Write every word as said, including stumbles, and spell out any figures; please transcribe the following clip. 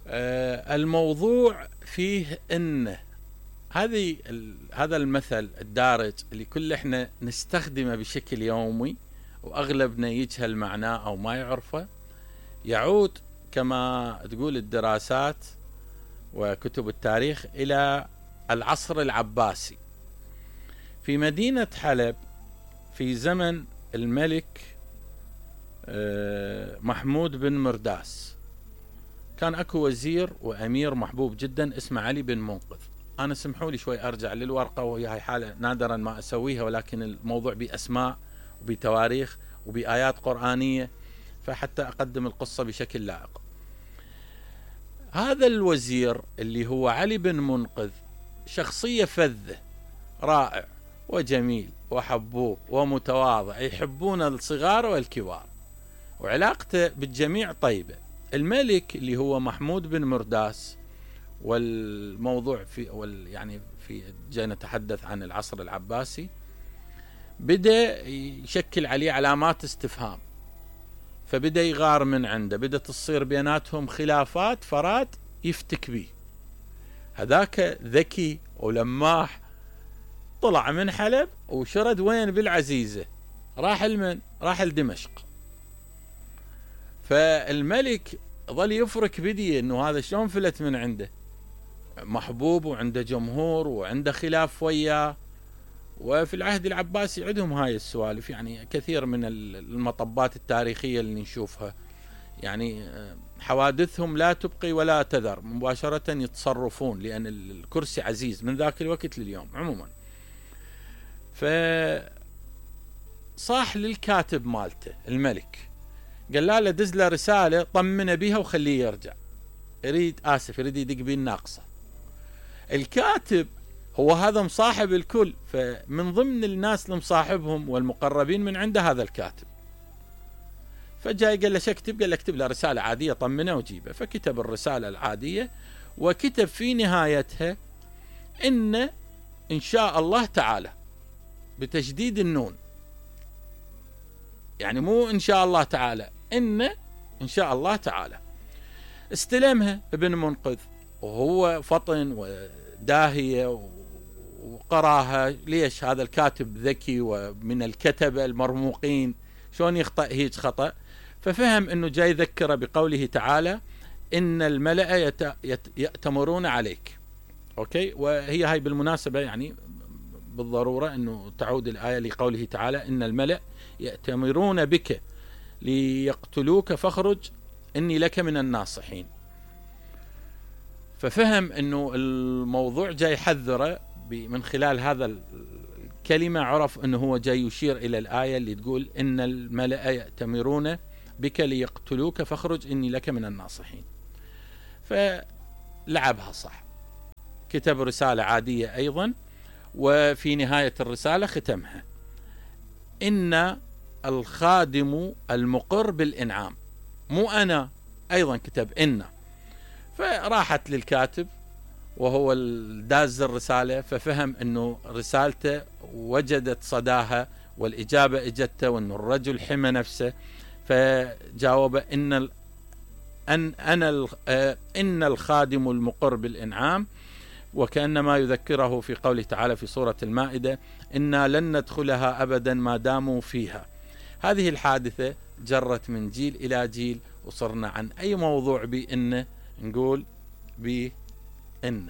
آه الموضوع فيه ان هذه هذا المثل الدارج اللي كل احنا نستخدمه بشكل يومي واغلبنا يجهل معناه او ما يعرفه، يعود كما تقول الدراسات وكتب التاريخ الى العصر العباسي في مدينة حلب في زمن الملك محمود بن مرداس. كان اكو وزير وامير محبوب جدا اسمه علي بن منقذ. انا سمحوا لي شوي ارجع للورقه، وهي هاي حاله نادرا ما اسويها، ولكن الموضوع باسماء وبتواريخ وبايات قرانيه، فحتى اقدم القصه بشكل لائق. هذا الوزير اللي هو علي بن منقذ شخصيه فذه، رائع وجميل وحبوب ومتواضع، يحبون الصغار والكبار، وعلاقته بالجميع طيبه. الملك اللي هو محمود بن مرداس، والموضوع في وال يعني في جاي نتحدث عن العصر العباسي، بدأ يشكل عليه علامات استفهام، فبدأ يغار من عنده، بدأت تصير بيناتهم خلافات، فراد يفتك به. هذاك ذكي ولماح، طلع من حلب وشرد وين؟ بالعزيزة، راح لمن؟ راح لدمشق. فالملك ظل يفرك بديه انه هذا شلون فلت من عنده، محبوب وعنده جمهور وعنده خلاف وياه. وفي العهد العباسي عندهم هاي السوالف، يعني كثير من المطبات التاريخية اللي نشوفها، يعني حوادثهم لا تبقي ولا تذر، مباشرة يتصرفون لأن الكرسي عزيز من ذاك الوقت لليوم. عموما فصاح للكاتب مالته الملك، قال له دز له رسالة طمنه بيها وخليه يرجع، يريد آسف يريد يدق بيه الناقصة. الكاتب هو هذا مصاحب الكل، فمن ضمن الناس اللي مصاحبهم والمقربين من عنده هذا الكاتب. فجاي قال له شو اكتب؟ قال له اكتب له رسالة عادية طمنه وجيبه. فكتب الرسالة العادية، وكتب في نهايتها إن إن شاء الله تعالى، بتشديد النون، يعني مو إن شاء الله تعالى، إن إن شاء الله تعالى. استلمها ابن منقذ وهو فطن وداهية وقراها. ليش؟ هذا الكاتب ذكي ومن الكتبة المرموقين، شلون يخطأ هيج خطأ؟ ففهم انه جاي يذكره بقوله تعالى ان الملأ يت... يت... يأتمرون عليك. اوكي، وهي هاي بالمناسبة يعني بالضرورة انه تعود الآية لقوله تعالى ان الملأ يأتمرون بك ليقتلوك فاخرج اني لك من الناصحين. ففهم انه الموضوع جاي يحذره من خلال هذا الكلمة، عرف انه هو جاي يشير الى الآية اللي تقول ان الملأ يأتمرون بك ليقتلوك فاخرج اني لك من الناصحين. فلعبها صح، كتب رسالة عادية ايضا، وفي نهاية الرسالة ختمها ان الخادم المقر بالانعام، مو انا، ايضا كتب ان. فراحت للكاتب وهو داز الرسالة، ففهم انه رسالته وجدت صداها والاجابة اجته، وانه الرجل حمى نفسه، فجاوب ان ان انا ان الخادم المقر بالانعام، وكأنما يذكره في قوله تعالى في سورة المائدة إنا لن ندخلها أبدا ما داموا فيها. هذه الحادثة جرت من جيل إلى جيل، وصرنا عن أي موضوع بإن نقول بإن.